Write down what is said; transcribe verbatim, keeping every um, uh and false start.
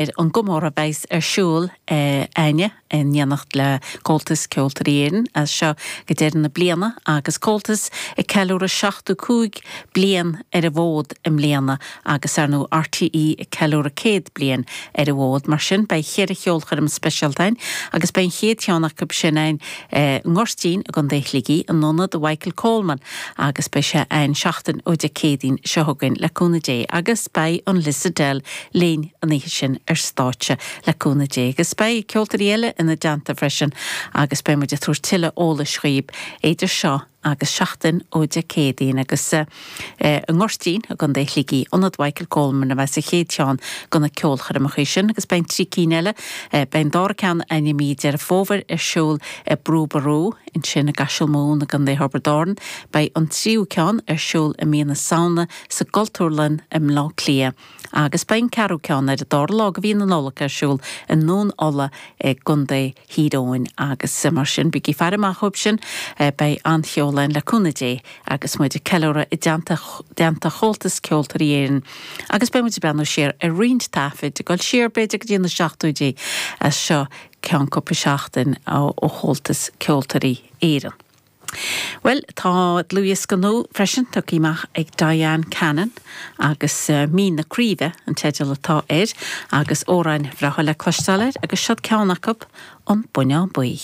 Ar an gcomóradh a bheas ar siúl againne in éineacht le Comhaltas Ceoltóirí Éireann as seo go deireadh na bliana agus Comhaltas ag ceiliúradh seachtó cúig bliain ar an bhfód i mbliana agus ar ndóigh RTÉ ag ceiliúradh céad bliain ar an bhfód. Mar sin beidh cheithre cheolchoirm speisialta againn agus beidh an chéad cheann acu sin ann i nGoirtín i gContae Shligigh in ionad Mhichael Coleman agus beidh sé ann seachtain ó Dé Céadaoin seo chugainn le cúnamh Dé agus beidh an Lissadell linn an oíche sin ar stáitse le cúnamh Dé agus beidh ceoltóirí eile ina dteannta freisin agus beidh muid ag tabhairt tuilleadh eolais dhaoibh idir seo agus seachtain ó Dé Céadaoin agus i nGoirtín i gContae Shligigh, Ionad Mhichael Coleman a bheas sa chéad cheann de na ceolchoirmeacha sin agus beidh trí cinn eile, beidh an dara ceann ann i mí Deireadh Fómhair ar siúl i Brú Ború ansin i gCaiseal Mumhan i gContae Thiobraid Árann, beidh an tríú ceann ar siúl i mí na Samhna sa gCultúrlann i mBleá Cliath agus beidh an ceathrú ceann ar an dara lá de mhí na Nollag ar siúl i nDún Uladh i gContae Thír Eoghain agus mar sin bígí ag faire amach dhóibh sin, beidh an-cheol ann le cúnamh Dé agus muid ag ceiliúradh i dteannta dteannta Chomhaltas Ceoltóirí Éireann agus beidh muid ag breathnú siar ar roinnt taifid ag dul siar b'fhéidir go dtí na seachtóidí as seo ceann cúpla seachtain ó Chomhaltas Ceoltóirí Éireann. Bhuel, tá dlúthdhiosca nua freisin tugtha amach ag Diane Cannon agus Mín na Craoibhe an teideal atá air agus amhráin bhreátha le cloisteáil air agus seod ceann acu, An Buinneán Buí.